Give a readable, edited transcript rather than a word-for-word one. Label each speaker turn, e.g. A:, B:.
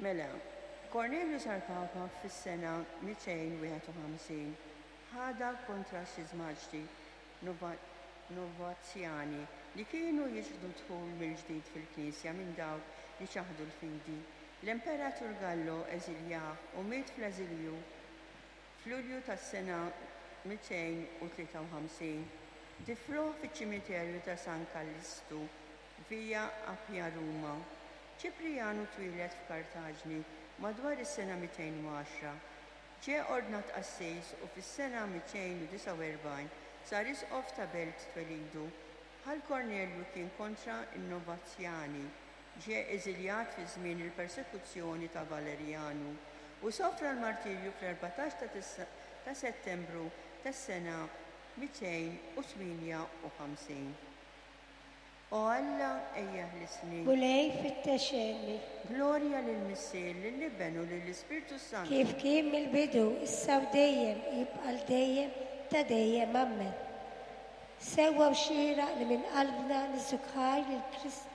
A: Mela, Kornelju sar Papa fis-sena 251. Ħadha kontra x-xiżmaġdi Novazjani li kienu jiċħdu d-dħul mill-ġdid fil-Knisja minn dawk li ċaħdu l-fidi. L-Imperatur Gallo eżiljah u miet fl-eżilju f'Lulju tas-sena 253. Difruh fiċ-ċimiterju ta' San Kallistu, Via Appia Ruma. Ċiprijanu twieled f'Kartaġni madwar is-sena 210. Ġie ordnat qassis u fis-sena 249 sar isqof ta' belt twelidu. Bħal Kornelju kien kontra n-Novazjani. Ġie eżiljat fi żmien il-persekuzzjoni ta' Valerjanu u sofra l-martirju fl-14 ta' Settembru tas-sena 258. O Alla, ejja ħlisni.
B: Mulej, fittex għenni.
A: Glorja lill-Missier, lill-Iben u lill-Ispirtu s-Santu.
B: Kif kien mill-bidu, issa u dejjem, jibqa' għal dejjem ta' dejjem. Ammen. Sewwa u xieraq li minn qalbna niżżuk ħajr lil Kristu.